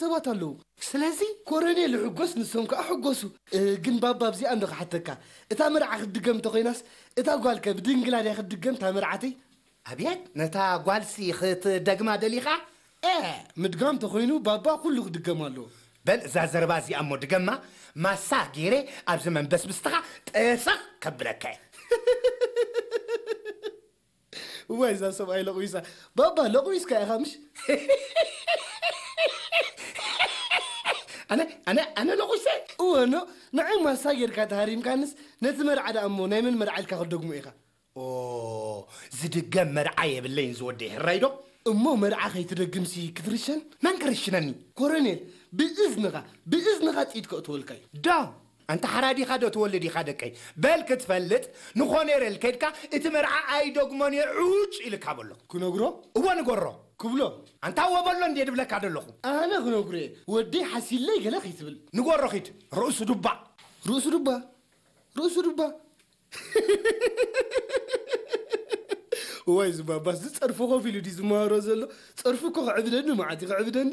ሰባት ኣለዉ። ስለዚ ኮረኔል ይሕጎስ፣ ንሶም ከኣ ሕጎሱ። እ፣ ግን ባባ ኣብዚኣ እንዶ ክሓተካ፣ እታ መርዓ ክትድገም እንተኾይናስ፣ እታ ጓልከ ብድንግላ ድያ ክትድገም እታ መርዓተይ? ኣብየት፣ ነታ ጓልሲ ክትደግማ ደሊኻ? እ፣ ምድጋም ተኾይኑ ባባ ኩሉ ክድገም ኣለዎ። በል እዛ ዘረባ እዚኣ እሞ ድገማ፣ ማሳ ገይረ ኣብዚ መንበስብስትኻ ጠሰኽ ከብለካ እየ። እዋይ እዛ ሰብኣይ ለቑይሳ። ባባ ለቑይስካ ኢኻ ምሽ? ኣነ ኣነ ኣነ ለቑይሰ? እወ ኖ፣ ንዓይ ማሳ ጌርካ ተሃሪምካንስ ነቲ መርዓ ደኣ እሞ ናይ መን መርዓ ኢልካ ክትደግሞ ኢኻ? ኦ፣ ዝድገም መርዓ የብለይን ዝወደይ፣ ሕራይ ዶ? እሞ መርዓ ከይትደግምሲ ክትርሸን? መን ክርሽነኒ? ኮረኔል፣ ብእዝንኻ ብእዝንኻ ጥይት ከእትወልካ እዩ። ዶ ኣንታ ሓራዲኻ ዶ ትወልድ ኢኻ ደቀይ? በል ክትፈልጥ ንኾኔረል ከድካ እቲ መርዓ ኣይደግሞን እየ ዑጭ ኢልካ በሎ። ክነግሮ? እወ ንገሮ። ክብሎ? ኣንታ እወ በሎ እንዴ ድብለካ ደለኹ። ኣነ ክነግሮ እየ። ወደይ ሓሲለይ ገለ ከይትብል። ንገሮ ኺድ። ርእሱ ዱባ። ርእሱ ዱባ? ርእሱ ዱባ? እዋይ ዝባባስ ዝጸርፉ ኮፍ ኢሉ ድዩ ዝመሃሮ ዘሎ? ጸርፉ እኮ ክዕብደኒ መዓት እዩ ክዕብደኒ።